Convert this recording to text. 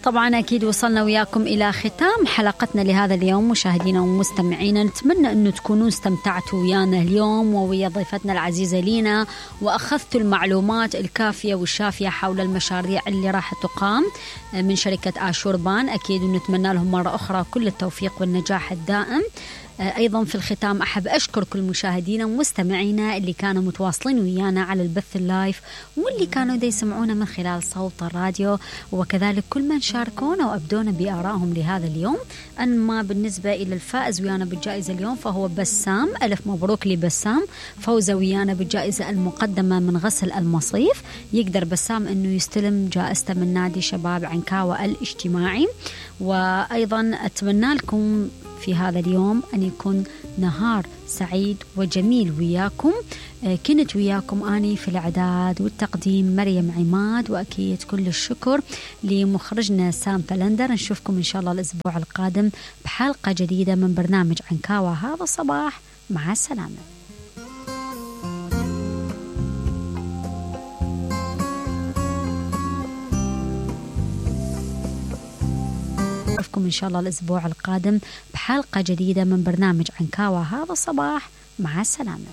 طبعا أكيد وصلنا وياكم إلى ختام حلقتنا لهذا اليوم مشاهدينا ومستمعينا. نتمنى أنه تكونوا استمتعتوا ويانا اليوم وويا ضيفتنا العزيزة لينا، وأخذتوا المعلومات الكافية والشافية حول المشاريع اللي راح تقام من شركة آشوربان. أكيد ونتمنى لهم مرة أخرى كل التوفيق والنجاح الدائم. أيضا في الختام أحب أشكر كل مشاهدينا ومستمعينا اللي كانوا متواصلين ويانا على البث اللايف واللي كانوا دا يسمعونا من خلال صوت الراديو، وكذلك كل من شاركونا وأبدونا بآرائهم لهذا اليوم. أما بالنسبة إلى الفائز ويانا بالجائزة اليوم فهو بسام. ألف مبروك لبسام، فوزه ويانا بالجائزة المقدمة من غسل المصيف. يقدر بسام أنه يستلم جائزته من نادي شباب عنكاوة الاجتماعي. وأيضا أتمنى لكم في هذا اليوم أن يكون نهار سعيد وجميل وياكم. كنت وياكم أني في الإعداد والتقديم مريم عماد، وأكيد كل الشكر لمخرجنا سام فلندر. نشوفكم إن شاء الله الأسبوع القادم بحلقة جديدة من برنامج عنكاوة هذا الصباح. مع السلامة. نشوفكم إن شاء الله الأسبوع القادم بحلقة جديدة من برنامج عنكاوة هذا الصباح. مع السلامة.